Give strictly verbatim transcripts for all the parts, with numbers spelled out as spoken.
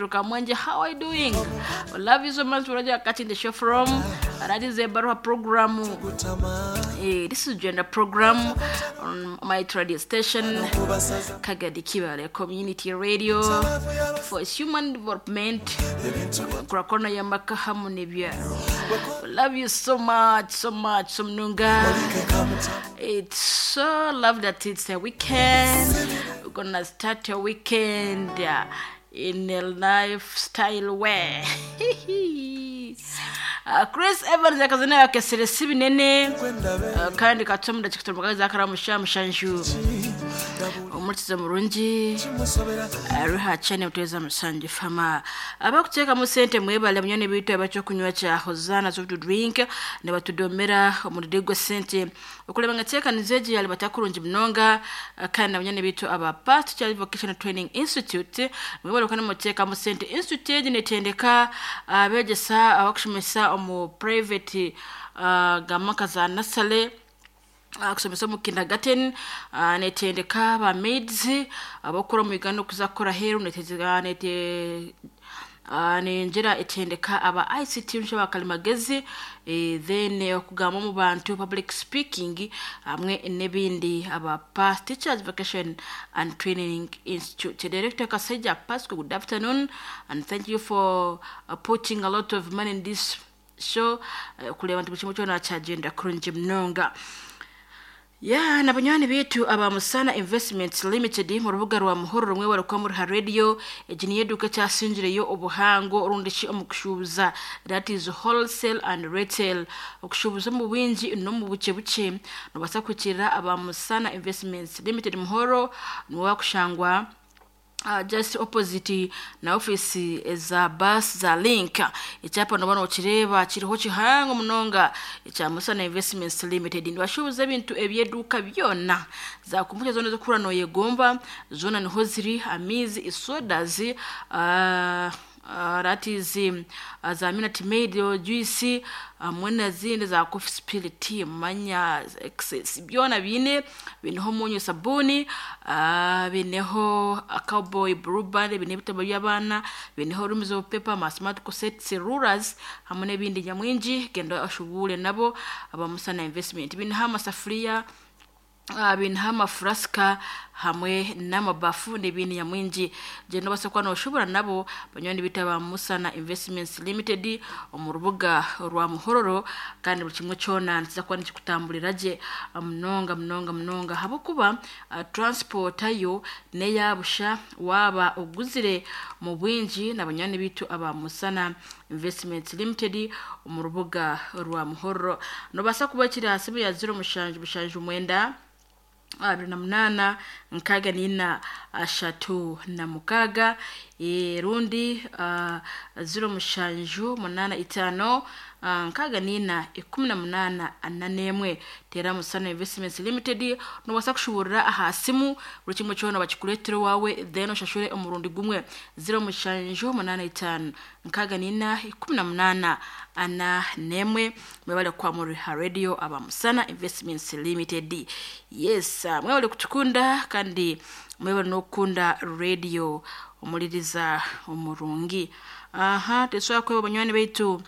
Kamwenge, how are you doing? I love you so much. Roger catching the show from that is a Baruha program. Eh, this is gender program on my radio station, Kagadi Kibale Community Radio for human development. Kurakona ya makahamu nebyaro. Love you so much, so much, so munonga. It's so love that it's a weekend. We're gonna start a weekend uh, in a lifestyle way. Uh, Chris Evans akazina yakesere si binene uh, kandi katomda chikutomakaza akaramusha mushanju omurikiza murungi ruha chane muteza musanju fama abakuteekamu sente mwebale munyone bitu abakyokunywa kya Hosanna soft drink ne batudomera omuride gwa sente okuleba nga teekaniza egi yali batakurungi munonga eh, kandi nabanyone bitu aba Past Child Vocational Training Institute mwebale okana muteekamu sente institute egi netendeka abegyesa abakushomesa omu private uh, gamaka za nasale uh, kusomesa omu kindergarten uh, netendeka ba maids abakora mu Uganda okuza kukora heru netezega nete uh, nenjera etendeka aba I C T nsha bakalimagezi eh, then eh, okugamba mu bantu, public speaking hamwe n'ebindi. Aba Past Teachers Vocation and Training Institute, Director Kaseja Pasco, good afternoon and thank you for uh, putting a lot of money in this show uh, kureba nti buli kimwe kyona kyagenda kurungi munonga. Ya na banywani bitu aba Musana Investments Limited mu rubuga rwa Muhoro rumwe barukwa muri ha radio. Egi niyo eduka kyasingireyo obuhango orundi ki omu kushubuza, that is wholesale and retail, okushubuza mu bwingi no mu buke buke. Nobasa kukirira aba Musana Investments Limited Muhoro, niwe wakushangwa Uh, just opposite na office za bus za Link. Ekyapa nobona okireba kiriho kihango munonga ekya Musana Investments Limited. Nibashubuza ebintu ebyeduka byona, za kompyuta zona ezokura noyegomba zona niho ziri, amizi, isodas, uh, uh, that is um, uh, za Minute Maid juice hamwe uh, nazindi za coffee spirit, manya excess, byona bine bineho munyu, sabuni, uh, bineho uh, Cowboy, Blue Band, bineho ebitabo by'abaana, bineho rooms of paper, ma smart cassettes, rulers hamwe n'ebindi nyamwingi. Genda oshubure nabo aba Musana Investment. Bineho amasafuriya, uh, bineho amafurasika hamwe n'amabafu n'ibindi nyamwingi. Genda obasa kuba noshobora nabo banywani bita ba Musana Investments Limited omu rubuga rwa Muhororo, kandi buli kimwe kyona nikiza kuba nikikutamburira gye munonga munonga munonga, habwokuba uh, transport yo neyabusha waba oguzire mu bwingi na banywani bitu aba Musana Investments Limited omu rubuga rwa Muhororo. Nobasa kuba kiri aha simu ya ziro mushanju mushanju mwenda abiri na munaana nkaaga nina ashatu na mukaaga, eh, rundi uh, ziro mushanju munaana itaano uh, nkaaga nina ikumi na munaana ana n'emwe. Tera Musana Investments Limited, nobasa kushuburira aha simu, buri kimwe kyona bakikureetera owawe, then oshashure omurundi gumwe. ziro mushanju munaana itaano nkaaga nina ikumi na munaana ana n'emwe. Mwebale kwa muri ha radio aba Musana Investments Limited. Yes, uh, mwebale kutukunda kandi mwebale n'okukunda radio omuliriza omurungi. Aha tesobola kweba banywani baitu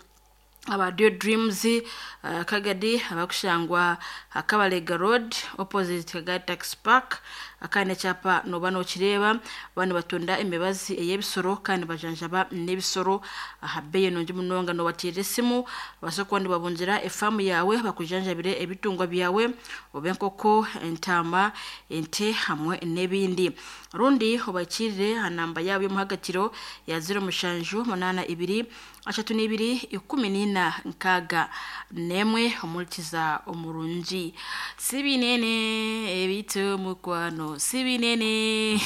aba Dio Dreams uh, Kagadi, abakushangwa Akabalega Road opposite Kagadi Tax Park. Akandi ekyapa noba nokireba. Bano batunda emibazi ey'ebisoro kandi bajanjaba n'ebisoro aha bbeeyi nungi munonga. Nobateerera esimu basobola kuba nibabungira efaamu yawe, bakujanjabire ebitungwa byawe, oba enkoko, entaama, ente hamwe n'ebindi. Rundi obakirire aha namba yaabo y'omuhagatiro ya ziro mushanju munaana ibiri ashatu n'ibiri ikumi n'ina nkaaga n'emwe. Omurikiza omurungi, si binene ebitu mukwano, si binene.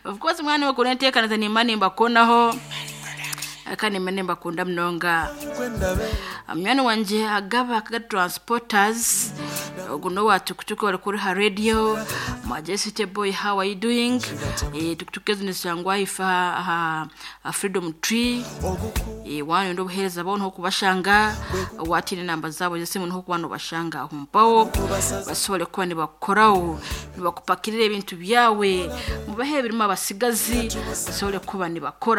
Of course mwana wakunda nteekaniza nimba nimbakonaho kandi nimba nimbakunda munonga. Munywani wangye agaba Kaga Transporters, ogu nowa tukutuku bari kuri ha radio. Majesty boy, how are you doing? Eh, tukutuku ezo nizishangwa ifa aha aha Freedom Tree. Eh, wanyenda obuheereza bwabo niho kubashanga, watine enamba zaabo z'esimu niho kuba nobashanga aho mpaho basobole kuba nibakukoraho, nibakupakirira ebintu byawe, mubahe ebirimu abasigazi basobole kuba nibakora.